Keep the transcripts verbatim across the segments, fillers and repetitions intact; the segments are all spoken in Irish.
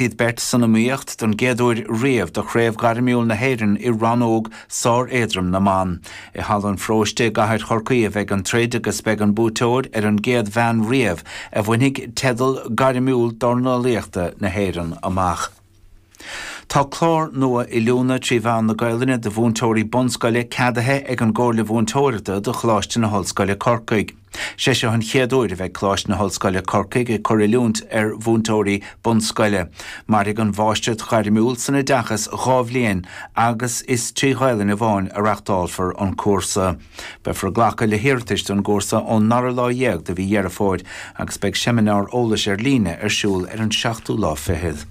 Iad beirt san iomaíocht don gcéad uair riamh do Chraobh Ghairmiúil na hÉireann i rannóg sár-éadrom na mban. I Halla an Pharóiste i gCathair Chorcaí a bheidh an troid agus beidh an buaiteoir ar an gcéad bhean riamh a bhainfidh teideal gairmiúil dornálaíochta na hÉireann amach. Tá clár nua oiliúna trí mheán na Gaelainne do mhúinteoirí bunscoile ceadaithe ag an gComhairle Mhúinteoireachta do Choláiste na hOllscoile Corcaigh. Sé seo an chéad uair a bheidh Coláiste na hOllscoile Corcaigh ag cur oiliúint ar mhúinteoirí bunscoile. Mairfidh an Mháistreacht Ghairmiúil san Oideachas dhá bhliain agus is trí Ghaelainn amháin a reáchtálfar an cúrsa. Beifear ag glacadh le hiarratais don gcúrsa ón dara lá dhéag de mhí Dheireadh Fómhair agus beidh seimineár eolais ar líne ar siúl ar an seachtú lá fichead.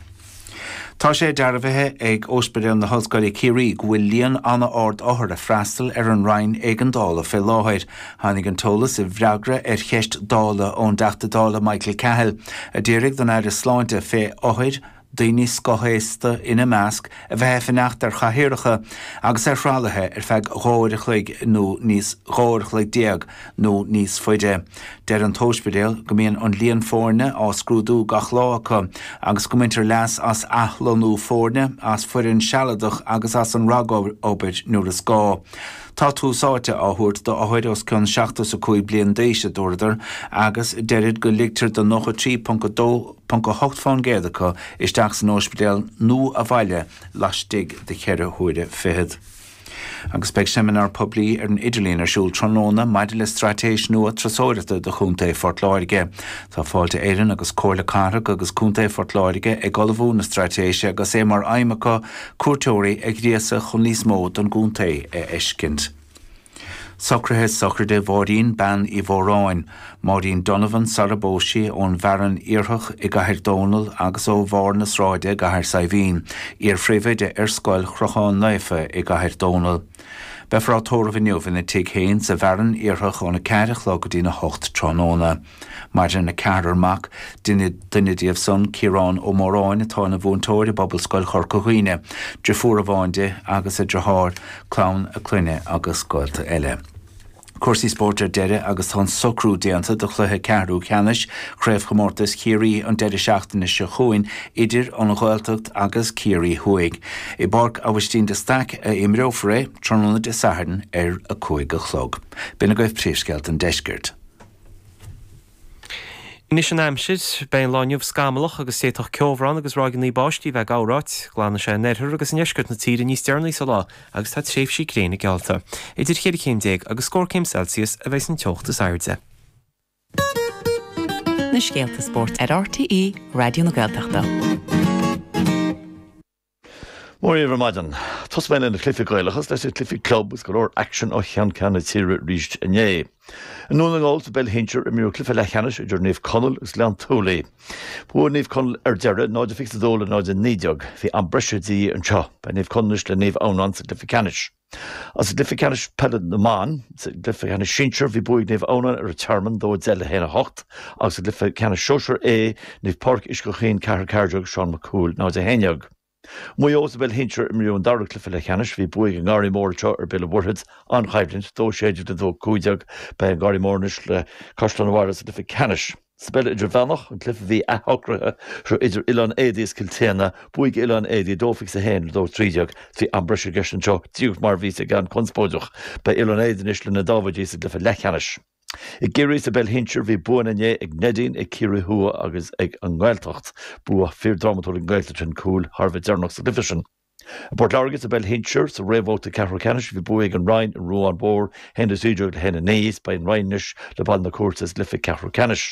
Tá sé dearbhaithe ag Ospidéal na hOllscoile Ciarraí go bhfuil líon an-ard othar ag freastal ar an Roinn Éigeandála fé láthair. Tháinig an t-eolas i bhfreagra ar cheist Dála ón dTeachta Dála Michael Cahill, a d'iarraidh don Aire Sláinte fé othair, daoine scothaosta ina measc, a bheith ag fanacht ar chathaoireacha agus ar thralaithe ar feadh dhá uair a chloig nó níos dhá uair a chloig déag nó níos faide. Deir an t-ospidéal go mbíonn an líon foirne á scrúdú gach lá acu agus go mbaintear leas as athlonnú foirne, as foireann sealadach agus as an ragobair nuair is gá. Tá tús áite á thabhairt d'othair os cionn seachtó is a cúig bliain d'aois, a dúradar, agus deirid go ligtear do nócha trí ponc a dó ponc a hocht fán gcéad acu isteach san ospidéal nó abhaile laistigh de cheithre huaire fichead. Agus beidh seimineár poiblí ar an idirlíon ar siúl tráthnóna maidir le straitéis nua turasóireachta do Chontae Phort Láirge. Tá Fáilte Éireann agus Comhairle Cathrach agus Contae Phort Láirge ag ullmhú na straitéise agus é mar aidhm acu cuairteoirí a ghríosadh chun níos mó don gcontae a fheiscint. Socruithe sochraide Mháirín Bean Uí Mhóráin, Máirín Donovan sara bpós sí ón bhFearann Iarthach i gCathair Dónall agus ó Bharr na Sráide i gCathair Saidhbhín, iar-phríomhoide ar Scoil Chrochán Naofa i gCathair Dónall. Beifear á tórramh inniu ina tigh féin sa bhFearann Iarthach óna ceathair a chlog go dtína hocht tráthnóna. Maireann a ceathrar mac, duine duine díobh san, Ciarán Ó Móráin atá ina mhúinteoir i bPobalscoil Chorca Dhuibhne, driofúr amháin di agus a deartháir, clann a clainne agus gaolta eile. Cúrsaí spóirt ar deireadh agus tá an socrú déanta do chluiche ceathrú ceannais Chraobhchomórtas Chiarraí an deireadh seachtaine seo chugainn idir an Ghaeltacht agus Ciarraí Thuaidh. I bPáirc Aibhistín de Staic a imreofar é tráthnóna Dé Sathairn ar a cúig a chlog. B'in agaibh príomhscéalta an deiscirt. Anois an aimsir, beidh an lá inniu scamallach agus d'fhéadfadh ceobhrán agus ráigeanna báistí bheith ag gabhráit. Glanfaidh sé in oirthear agus i ndeisceart na tíre níos deireanaí sa lá agus tá tréimhsí gréine geallta. Idir cheithre chéim déag agus scór céim Celsius a bheidh an teocht is airde. Na scéalta spóirt ar RTÉ Raidió na Gaeltachta. Mór ar maidin. Tosóidh mé le na cluichí Gaelacha leis na cluichí club agus go leor aicsean ó cheann ceann na tíre arís inné. I nDún na nGall sa bpeil shinsir imríodh cluiche leathcheannais idir Naomh Conaill agus Gleann tSúilí. Bhuaigh Naomh Conaill ar deireadh náid a fiche a dó le náid a naoi déag. Bhí am breise de dhíth anseo. Beidh Naomh Conaill anois le Naomh Adhamhnáin sa gcluiche ceannais. Agus sa gcluiche ceannais peile na mban, sa gcluiche ceannais sinsir bhí bua ag Naomh Adhamhnáin ar an Tearmann dó a deich le haon a hocht agus sa gcluiche ceannais sóisear A, Naomh Pádraig Uisce Chaoin ceathair ceathair déag Seán Mac Cumhaill náid a haon déag. Maigh Eo sa bpeil shinsir imríodh an dara cluiche leathcheannais. Bhí bua ag an nGarraí Mór anseo ar Béal an Mhuirthead. An-choimhlint, dó sé déag le dó cúig déag. Beidh an Garraí Mór anois le Caisleán an Bharraigh sa gcluiche ceannais. Sa bpeil idirmheánach, an cluiche a bhí athshocraithe seo idir Oileán Éadaí is Cill tSéadhna, bua ag Oileán Éadaí dó fiche a haon le dó trí déag. Bhí am breise i gceist anseo, díreach mar a bhí ag an conspóideach. Beidh Oileán Éadaí anois le na Dáibhidí sa gcluiche leathcheannais. I gCiarraí sa bpeil shinsir bhí buanna inné ag Neidín, ag Ciarraí Thuaidh agus ag an nGaeltacht. Bua fíordhrámatúil ag an nGaeltacht sin, cúl thar a bheith deireanach sa gcluiche sin. I bPort Láirge sa bpeil shinsir, sa réamhbhabhta ceathrú ceannais bhí bua ag an Rinn ar an Ruán Mhór, a haon a trí déag le haon a naoi, is beidh an Rinn anois le Baile na Cúirte sa gcluiche ceathrú ceannais.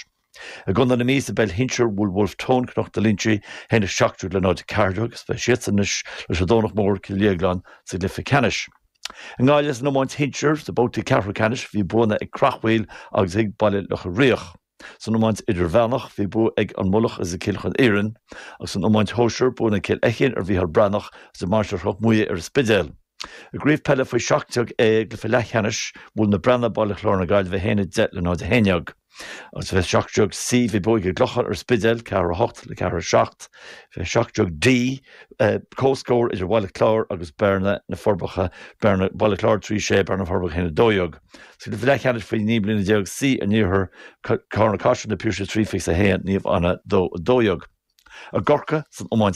I gContae na Mí sa bpeil shinsir bhuail Wolfe Tone Cnoc na Loinsigh, a haon a seacht déag le náid a ceathair déag, is beidh siadsan anois leis an Domhnach Mór, Cill Dhéagláin sa gcluiche ceannais. I nGaillimh san iomáint shinsir, sa babhta ceathrú ceannais, bhí buanna ag Creachmhaoil agus ag Baile Locha Riach. San iomáint idirmheánach, bhí bua ag An Mullach agus ag Cill Chon Iarainn, agus san iomáint shóisir, buanna ag Cill Fheichín ar Mhícheál Breathnach agus ag Mainistir Chnoc Muaidhe ar an Spidéal. I gCraobh Peile faoi seacht déag A i gcluiche leathcheannais, bhuail Na Breathnaigh Baile Chláir na Gaillimhe a haon a deich le náid a haon déag. Agus fé seacht déag C bhí bua ag an gClochán ar an Spidéal, ceathair a hocht le ceathair a seacht. Fé seacht déag D, comhscór idir Bhaile Chláir agus Bearna, Na Forbacha, Bearna, Baile Chláir trí sé, Bearna na Forbacha a haon a dó dhéag. Sa gcluiche leathcheannais faoi naoi mbliana déag C an Iarthair, Carna Caiseal, Na Piarsaigh trí fiche a haon, Naomh Anna dó a dó dhéag. I gCorcaigh san iomáint